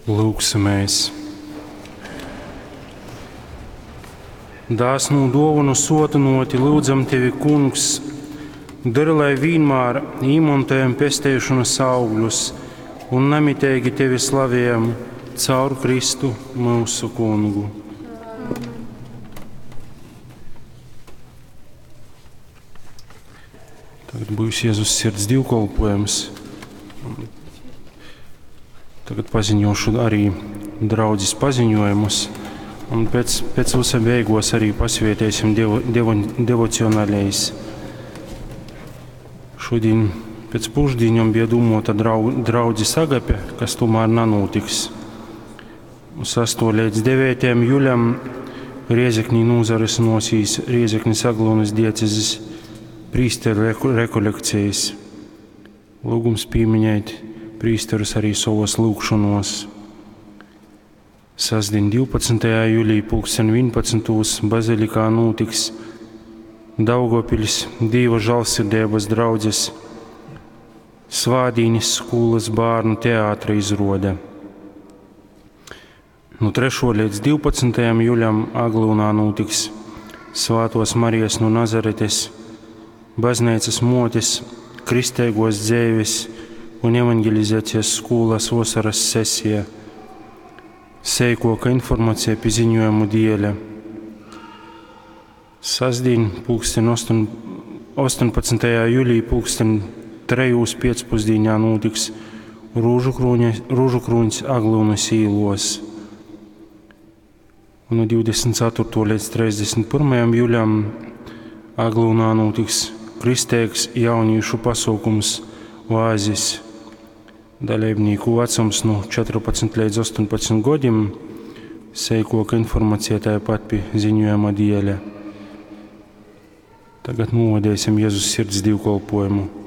Lūgsimies! Dāsnū duovonu suotynuoti lyudzam tevi, Kungs, dori, lai vīnmār īmontojam pesteišonys augļus un namiteigi tevi slavējam caur Kristu myusu Kungu. Tagad būs Jēzus sirds divkolpojums. Tagad paziņošu arī draudzes paziņojumus. Un pēc, pēc visa beigos arī pasvietēsim devo, devo, devocionālais. Šodien pēc pušdiņām bija domāta drau, draudzes agape, kas tomēr nanotiks. 6. līdz 9. jūlijam Riezeknī nūzarysynuosīs Riezeknis Aglonas diecezes prīsteru rekolekcijas. Lūgums pīminēt prīsterus arī savos lūgšanos. Sastdien 12. jūlijā pulksten 11. bazilikā notiks Daugavpiļs Dīva žālsirdības draudzes Svādīnis skolas bērnu teātra izrode. No 3. līdz 12. jūlijam Aglūnā notiks Svātos Marijas no Nazaretes baznīcas motes kristīgos dzēves un evangelizācijas skolas vasaras sesija. Seikoka informācija pie ziņojumu dieļa. Sasdien, pulksten 8, 18. jūlijā, pulksten 3. pēcpusdienā notiks Rūžu krūņs Aglūnas īlos. Un no 24. līdz 31. jūlijam Aglūnā notiks kristīgs jauniešu pasaukums Oāzis. Dalībnieku vecums no 14 līdz 18 gadiem. Seikoka informācija tāpat pie ziņojuma dieļa. Tagad novadīsim Jēzus sirds divkolpojumu.